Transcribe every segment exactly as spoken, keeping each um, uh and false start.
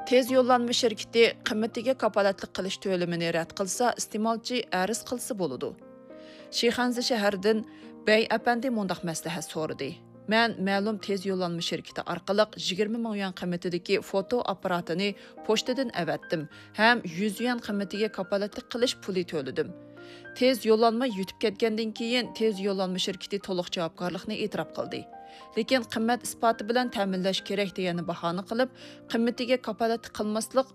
تېز يوللانما شىركىتى قىممىتىگە كاپالەتلىك قىلىش تۆلىمىنى رەت قىلسا، ئىستېمالچى ئەرز قىلسا بولىدۇ. شىخەنزە شەھىرىدىن بەي ئەپەندى مۇنداق مەسلىھەت سورىدى: مەن مەلۇم تېز يوللانما شىركىتى ئارقىلىق يىگىرمە مىڭ يۈەن قىممىتىدىكى فوتو ئاپپاراتىنى پوچتىدىن ئەۋەتتىم ھەم يۈز يۈەن قىممىتىگە كاپالەتلىك قىلىش پۇلى تۆلىدىم. تېز يوللانما يۈتۈپ كەتكەندىن كېيىن، تېز يوللانما شىركىتى تولۇق جاۋابكارلىقنى ئېتىراپ قىلدى. لېكىن قىممەت ئىسپاتى بىلەن تەمىنلەش كېرەك دېگەننى باھانە قىلىپ، قىممىتىگە كاپالەتلىك قىلماسلىق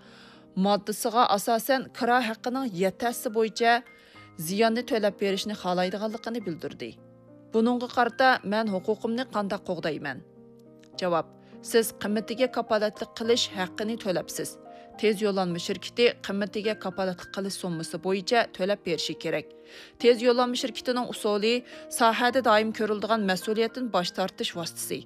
ماددىسىغا ئاساسەن، كىرا ھەققىنىڭ يەتتە ھەسسە بويىچە زىياننى تۆلەپ بېرىشنى خالايدىغانلىقىنى بىلدۈردى. بۇنىڭغا قارىتا مەن ھوقۇقۇمنى قانداق قوغدايمەن؟ جاۋاب: سىز قىممىتىگە كاپالەتلىك قىلىش ھەققىنى تۆلەپسىز. تېز يوللانما شىركىتى قىممىتىگە كاپالەتلىك قىلىش سوممىسى بويىچە تۆلەپ بېرىشى كېرەك. تېز يوللانما شىركىتىنىڭ ئۇسۇلى ساھەدە دائىم كۆرۈلىدىغان مەسئۇلىيەتتىن باش تارتىش ۋاسىتىسى.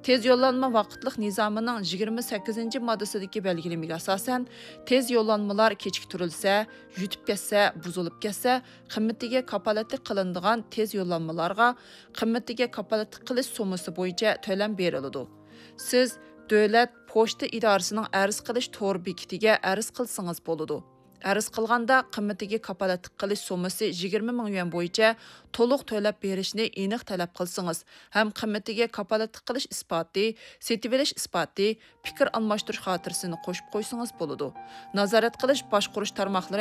تېز يوللانما ۋاقىتلىق نىزامىنىڭ يىگىرمە سەككىزىنچى ماددىسىدىكى بەلگىلىمىگە ئاساسەن، تېز يوللانمىلار كېچىكتۈرۈلسە، يۈتۈپ كەتسە، بۇزۇلۇپ كەتسە، قىممىتىگە كاپالەتلىك قىلىنىدىغان تېز يوللانمىلارغا قىممىتىگە كاپالەتلىك قىلىش سوممىسى بويىچە تۆلەم بېرىلىدۇ. سىز دۆلەت پوچتا ئىدارىسىنىڭ ئەرز قىلىش تور بېكىتىگە ئەرز قىلسىڭىز بولىدۇ. ئەرز قىلغاندا قىممىتىگە كاپالەتلىك قىلىش سوممىسى يىگىرمە مىڭ يۈەن بويىچە تولۇق تۆلەپ بېرىشنى ئېنىق تەلەپ قىلسىڭىز ھەم قىممىتىگە كاپالەتلىك قىلىش ئىسپاتى، سېتىۋېلىش ئىسپاتى، پىكىر ئالماشتۇرۇش خاتىرىسىنى قوشۇپ قويسىڭىز بولىدۇ. نازارەت قىلىش باشقۇرۇش تارماقلىرى